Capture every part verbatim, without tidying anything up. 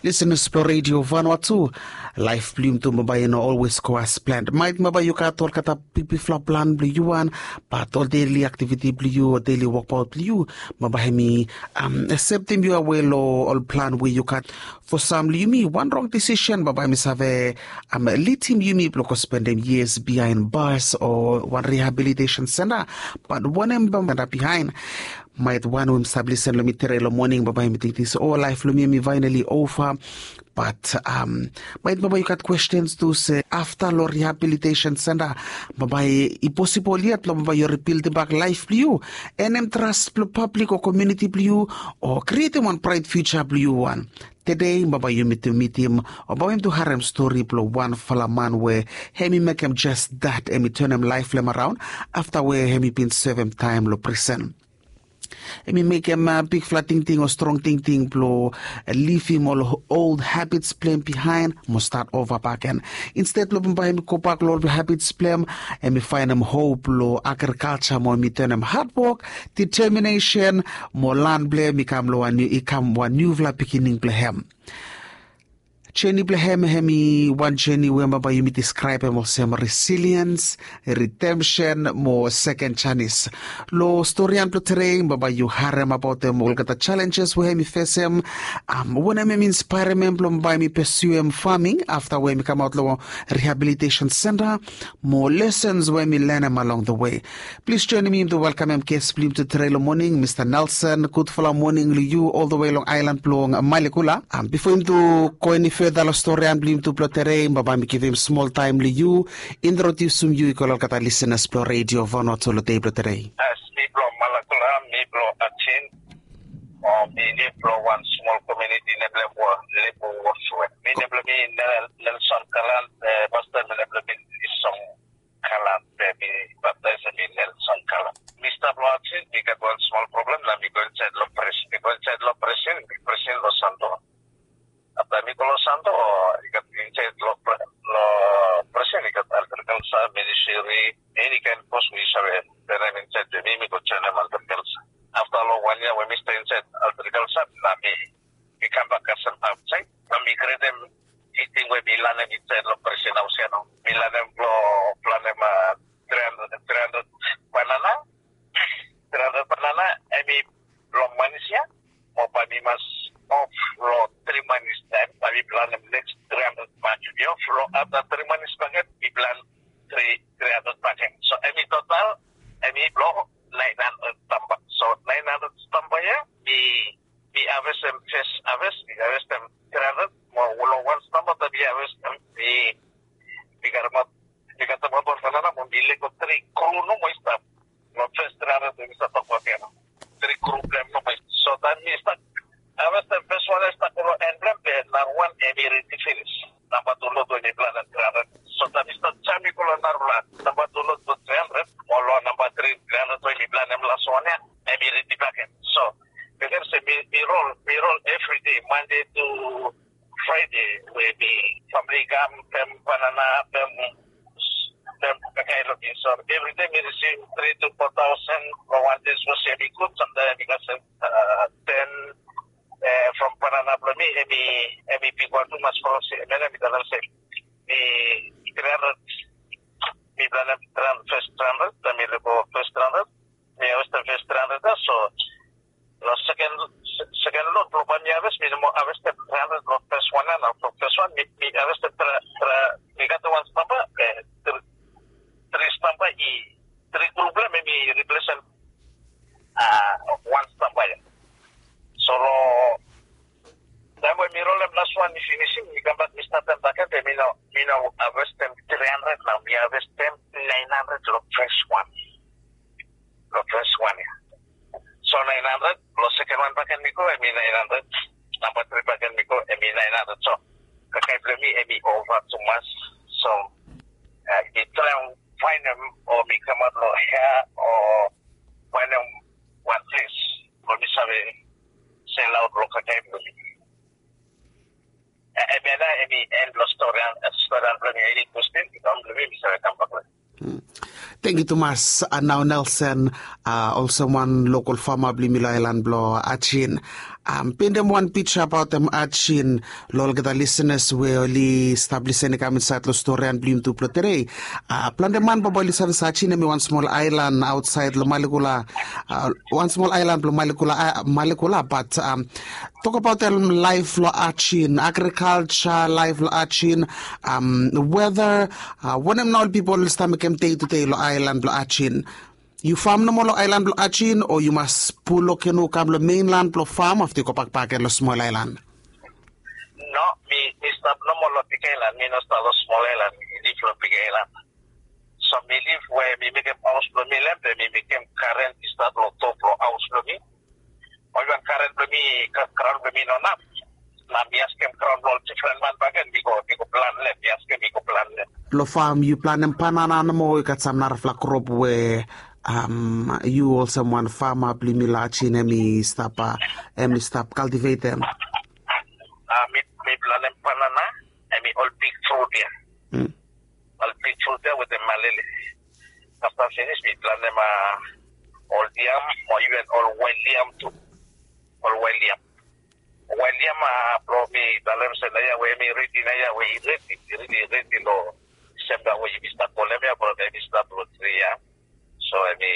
Lisenas blong redio Vanuatu, laef blong yumi tu bambae i no olwes go as plen. Maet bambae yu gat olgeta bigbigfala plan blong yu wan, bat ol deli aktiviti blong yu o deli wokbaot blong yu, bambae hem i septem yu awe long ol plan we yu gat. Fo sam long yumi, wan rong disisen bambae hem i save lidim yumi blong go spendem yias biaen bas o wan rihabilitesen senta. Bat wanem bambae hem i stap biaen? Maet wan we hem i stap lisen long mi tede long moning bambae hem i tingting se, o, laef blong mi hem i faenali ova. Bat maet bambae yu gat kwestens tu se afta long rihabilitesen senta, bambae i posibol yet blong bambae yu ribildim bak laef blong yu, enem tras blong pablik o komuniti blong yu, o krietem wan braet fiuja blong yu wan. Tede bambae yumi tu mitim o bambae yumi tu harem stori blong wanfala man we hem i mekem jes dat hem i tanem laef blong hem araon afta we hem i bin sevem taem long prisen. Hem i mekem bigfala tingting o strong tingting blong livim ol ol habits blong hem biaen mo stat ova bakegen. Insted blong bambae hem i gobak long ol habits blong hem, hem i faenem hop long agrikalja mo hem i tanem hadwok, diteminesen mo lan blong hem i kam long wan niu i kam wan niufala pikinini blong hem. Jeni blong hem hem i wan jeni we bambae yumi diskraebem olsem resiliens, ridemsen mo seken janis. Long storian blong tede bambae yu harem abaotem olgeta jalenjes we hem i fesem, wanem hem i inspaerem hem blong bambae hem i pesuem faming afta we hem i kamaot long rihabilitesen senta, mo lesens we hem i lanem along the we. Plis joenem yumi tu welkamem ges blong yumi tu tede long moning, mista Nelson. Gudfala moning long yu ol the we long aelan blong Malekula. Bifo yumi tu go eni feda long storian blong yumi tu blong tede, bambae mi givim smol taem long yu introdiusim yu i go long olgeta lisenas blong redio Vanuatu long dei blong tede. As mi blong Malekula, mi blong Atin, o mi nef long wan smol komuniti nem blong Lebu Woswe. Mi nem blong mi Nelson Kalan, pasta mi nem blong mi Isong Kalan, be mi baptaes mi Nelson Kalan. Mi stap long Atin, mi gat wan smol problem na mi go insaed long pres mi go insaed long presen mi presen long Santo. Afta mi go long Santo, i gat insaed long presen i gat agrikalsa, ministri, eni kaen pos we yu save. Be na mi insaed be mi mi go joenem agrikalsa. Afta long wan yia we mi stap insaed agrikalsa na mi mi kambak kasem aotsaed. Be mi gretem tingting we mi lanem insaed long presen haos ya nao. Mi lanem blong planem tri handred tri handred banana. Tri handred banana hem i blong manis ya. Mo bae mi mas of long tri manis taem bae mi planem neks tri handred bakegen. Mi of long afta tri manis bakegen mi plan tri tri handred bakegen. So hem i total hem i blong naen handred stamba. So naen handred stamba ya mi mi havestem fes haves mi havestem tri handred mo long wan stamba taem mi havestem mi mi karemaot mi katemaot wan banana mo mi lego tri kru nomo i stap. Long fes tri handred we mi stap tokbaot ya nao. Tri kru blong hem nomo i stap. So taem mi stap havestem fes wan ya i stap go long en blong hem be narawan hem i redi finis. Namba tu lod we mi planem tri handred. So taem mi stap jaem i go long narafala namba tu lod blong tri handred mo long namba tri tri handred we mi planem las wan ya hem i redi bakegen. So bekem se mi mi rol mi rol evride mande tu fraide we mi famili i kam pem banana pem pem kakae long bin. So evride mi risivim tri tu fo taosen long wan de sapos hem i gud samtaem hem i kasem ten from banana blong mi hem i hem i bigwan tumas from se hemia na mi talem se mi tri handred mi planem tri handred fes tri handred taem mi lego fes tri handred mi havestem fes tri handred ya. So long seken seken lod blong bae mi haves mi no moa havestem tri handred long fes wan ya nao. From fes wan mi mi havestem tri tri mi gat wan stamba be tri tri stamba i tri kru blong hem i riplesem wan stamba ya. So long taem we mi rolem las wan i finisim mi kambak mi statem bakegen be mi no mi no havestem tri handred nao mi havestem naen handred long fes wan. Long fes wan ya. So naen handred long seken wan bakegen mi go hem i naen handred. Namba tri bakegen mi go hem i naen handred. So kakae blong mi hem i ova tumas. So mi traem faenem o mi kamaot long hea o faenem wan ples blong mi save selaot long kakae blong mi. Hemia na hem i en blong storian blong mi. Eni kwesten i kam blong mi mi save kambak long. Tangkiu tumas. Nao Nelson, olsem wan lokol fama blong yumi long aelan blong Ajin. Am, pendem wan pija abaot em ajin lo olgeta lisenas we oli stap lisen i kam insaet lo storian blong yumi tu blong tedei. A, plante man baba oli save se ajin em i wan smol aelan aotsaed lo Malekula, a, wan smol aelan blong Malekula, a, Malekula, bat, am, tok abaot em laef lo ajin, agrikalja laef lo ajin, am, weda, a, wanem nao ol pipol oli stap mekem dei tu dei lo aelan blo ajin. Yu fam nomo lo aelan blo ajin o yu mas pul lo kenu kam lo meinlan blo fam afta yu gobak bakegen lo smol aelan? No, mi mi stap nomo lo big aelan, mi no stap lo smol aelan, mi liv lo big aelan. So mi liv we mi mekem haos blo mi lo hem, be mi mekem garen i stap lo top lo haos blo mi. Ol wan garen blo mi, graon blo mi no naf. Na mi askem graon blo ol difren man bakegen, mi go mi go plan lo hem, mi askem mi go plan lo hem. Lo fam yu planem banana nomo o i gat sam narafala krop we, am, yu olsem wan fama blo yumi lo ajin hem i stap, a, hem i stap kaltivetem? A, mi mi planem banana, hem i ol big frut ya. Ol big frut ya wetem malele. Afta finis mi planem, a, ol yam o iven ol wael yam tu. Ol wael yam. Wael yam, a, blo mi talem se naoia we hem i redi, naoia we i redi, i redi, i redi lo Disemba we yumi stap kolem ya, blo hem i stap lo tri ya. So hem i,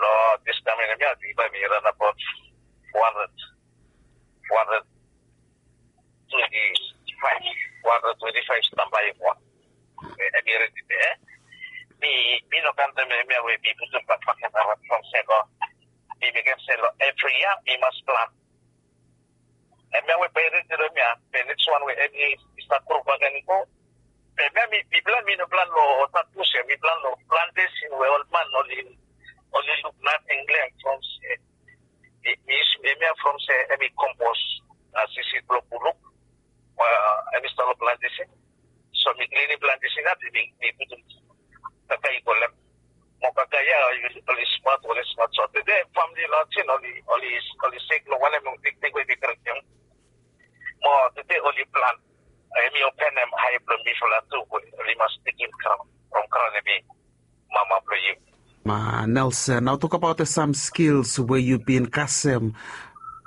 lo dis kamen hem ya, mi bae mi ran abaot fo handred, fo handred twenti faef, fo handred twenti faef stamba ya. Hem i redi de, e? Mi mi no kantem hemia we mi putum bakmaket abaot from se lo, mi mekem se lo evri yia mi mas plan. Hemia we bae i redi lo hemia, be neks wan we hem i stap gro bakegen i go. Be hemia mi plan, mi no plan lo tatbus ya, mi plan lo plantesin we ol man oli oli luk nating lo hem from se, mi mi yusum hemia from se hem i kompos, a, sisid blo buluk. Hem i stap lo plantesin. So mi klinim plantesin ya, mi mi putum kakae i go lo hem. Mo kakae ya oli smat, oli smat. So tede famili lo ajin oli oli oli sek lo wanem long tektek we mi karitim. Mo tede oli plan. Hem i openem ae blo mifala tu we oli mas tekem graon, from graon hem i mama blo yu. Ma Nelson, nao tokabaot sam skils we yu bin kasem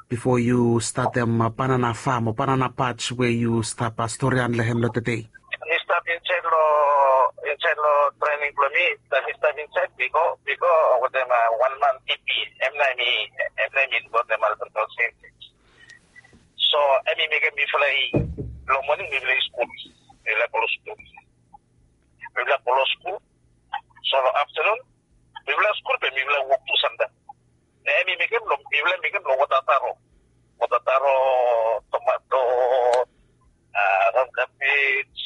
bifo yu statem banana fam o banana patch we yu stap storian long hem long tedei? Mi stap insaed long insaed long trening blong mi. Taem mi stap insaed, mi go mi go wetem wan man, P P. Hem nao hem i hem nao hem i lukaotem agrikalja. So hem i mekem mifala i long moning mifala i skul. Mifala i go long skul. Mifala i go long skul. So long aftenun mifala i skul be mifala i wok tu samtaem. Na hem i mekem long mifala i mekem long wota taro. Wota taro, tomato, a, ram kabej.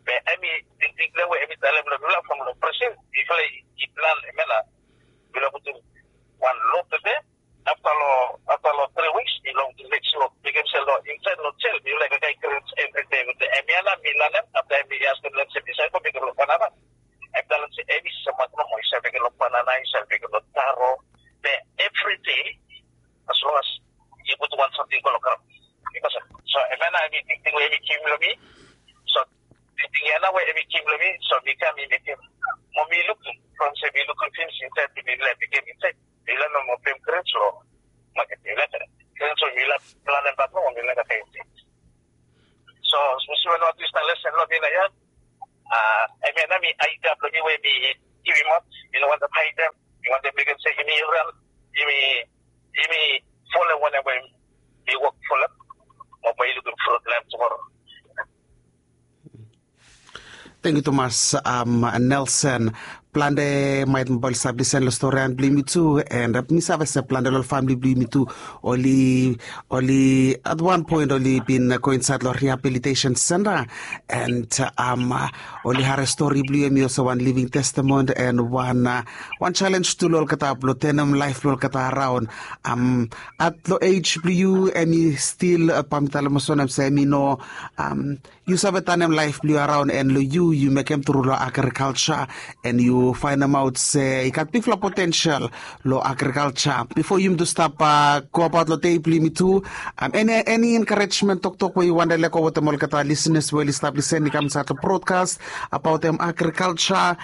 Be hem i tingting long we hem i talem long mifala from long presen mifala i plan hemia na mifala i putum wan lod tede. Afta long afta long tri wiks mifala i putum neks lod, mekem se long insaed long jel mifala i kakae grens evridei wetem hemia na mi lanem. Afta hem i askem long hem se mi save go mekem long banana. Hem i talem se hem i save maket nomo, i save mekem long banana, i save mekem long taro. Be evridei as long as yu putum wan samting go long graon. Bikos so hemia nao hem i tingting we hem i givim long mi. So tingting ya nao we hem i givim long mi, so mi kam mi mekem. Mo mi lukim from se mi lukim finis insaed, mi laik mekem insaed. Mi laik nomo pem grens long maket, mi laik grens we mi laik planem bak nomo, mi laik katem insaed. So mi save nomo dispela lesen long mi nao ya. A, hemia nao mi aeda blong mi we mi givimaot. Mi no wantem haedem. Mi wantem mekem se yumi ran, yumi yumi folem wanem we mi wok folem. Mo bae yu lukim frut long hem tumoro. Tangkiu tumas, am, Nelson. Plante maet baba oli stap lisen long storian blong yumi tu, and mi save se plante long famili blong yumi tu oli oli at wan poen oli bin go insaed long rehabilitation senta, and, am, oli harem stori blong yu, hem i olsem wan living testament and wan, a, wan jalenj tu long olgeta blong tenem laef blong olgeta raon. Am, at long ej blong yu hem i stil, a, bae mi talem olsem wanem se hem i no, am, yu save tanem laef blong yu araon, and long yu yu mekem tru long agrikalja, and yu faenemaot se i gat bigfala potensel long agrikalja. Bifo yumi tu stap goabaot long dei blong yumi tu, eni enkarejmen toktok we yu wantem lego wetem olgeta lisenas we oli stap lisen i kam insaed long brodkas abaot em agrikalja,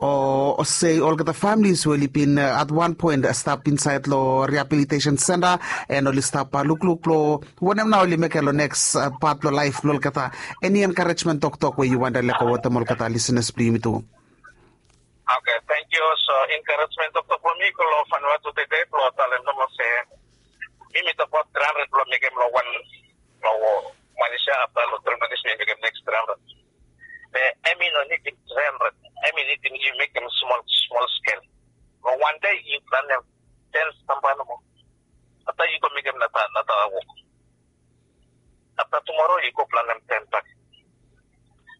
o se olgeta familis we oli bin at wan poen stap insaed long riabilitesen senta, en oli stap lukluk blong wanem nao oli mekem long neks pat blong laef blong olgeta. Eni enkarejmen toktok we yu wantem lego wetem olgeta lisenas blong yumi tu? Oke, tangkiu. So enkarejmen toktok blong mi i go long fanua tu tede blong talem nomo se mi mi tokbaot tri handred blong mekem long wan, long wan yia afta long tri manis mi mekem neks tri handred. Be em i no nidim tri handred. Em i nidim yu mekem smol smol skel. Long wan dei yu planem ten stamba nomo. Afta yu go mekem nata nata wok. Afta tumoro yu go planem ten bak.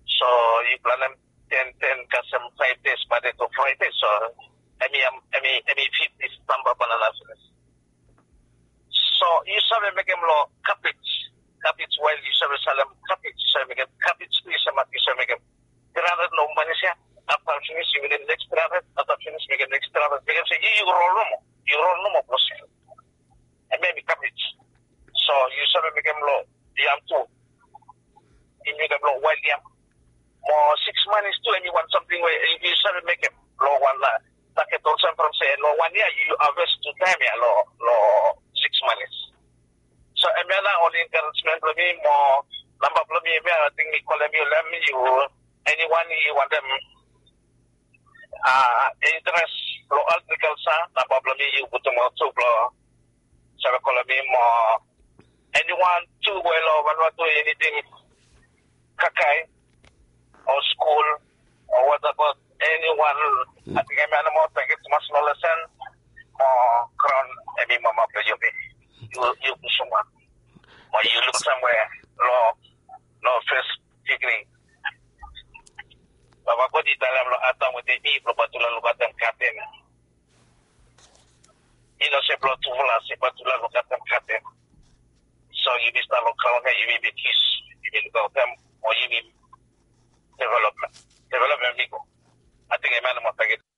So yu planem ten ten kasem faef dei, Mande tu Fraede. So em i em i em i fifti stamba banana finis. So yu save mekem long kabej. Kabej wael yu save salem kabej, yu save mekem kabej tu, yu save mekem tri handred long manis ya. Afta finis yu mekem neks tri handred, afta finis mekem neks tri handred, mekem se yu yu rol nomo. Yu rol nomo blong skel. Em em i kabej. So yu save mekem long yam tu. Yu mekem long wael yam. Mo siks manis tu em i wan samting we yu save mekem long wan taket olsem from se long wan yia yu haves tu taem ya long siks manis. So em ya nao ol enkarejmen blong mi mo namba blong mi em ya, ating mi kolem yu long em, yu eniwan yu wantem interes long agrikalja, namba blong mi yu putum aot tu blong save kolem mi mo eniwan tu we long Vanuatu i nidim kakae o skul o watabaot eniwan. Ating em ya nomo, tangkiu tumas long lesen mo graon em i mama blong yumi. Yu yu pusuman mo yu luk samwe long long fes digri. Baba God i talem long Adam wetem Iv blong bae tufala lukaotem gaden. I no se blong tufala, se bae tufala lukaotem gaden. So yumi stap long graon ya, yumi bin yus, yumi lukaotem mo yumi developmen. Developmen mi go. Ating em ya nomo, tangkiu.